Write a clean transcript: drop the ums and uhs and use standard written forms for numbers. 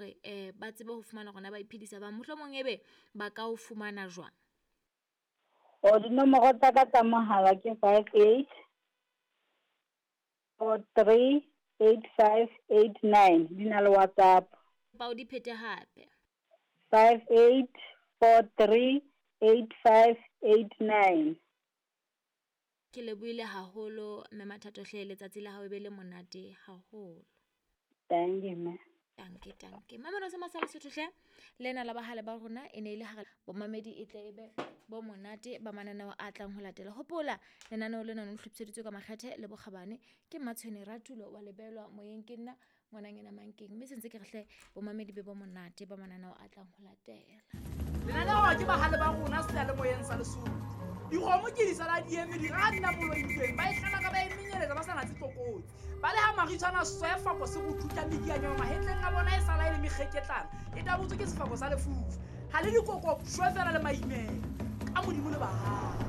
hore ba tsebe ho fumana hore na ba iphedisa bang, mohlomong ebe ba ka o fumana jwang? O dinomoro tsa ka tsa mohala ke 58 43 85 89, di na le WhatsApp. Ba o di phete hape. 58 43 85 89. Ke lebohile haholo mme Mathato hle, letsatsi la hao e be le monate haholo. Thank you, mme. Tanke, tanke. Mamelo se masala Sotho hle, lena la bahale ba rona e ne e le hare bomamedi e tle e be bo monate ba mananeo a tlang ho latela. Hopola lenaneo lena le hlophiseditswe ka makgethe le bokgabane ke Mmatshwene Ratulo wa lebelwa moyeng, ke nna ngwananyana Mankeng, mme sentse ke re hle bomamedi be bo monate ba mananeo a tlang ho latela. Lenaneo ke bahale ba rona seyalemoyeng sa Lesotho. Dikgomo ke di sala di eme, di ra nna moloitsweng, ba e hlala ka ba e menyeletsa ba sa natse tlokotsi. Ba le ha maritshwana sefako se go thutla medianyana mahetleng a bona e sala e le mekgeketlana, e tabotswe ke sefako sa lefufa. Ha le dikoko shwe fela le maimela. Ka Modimo le bahale.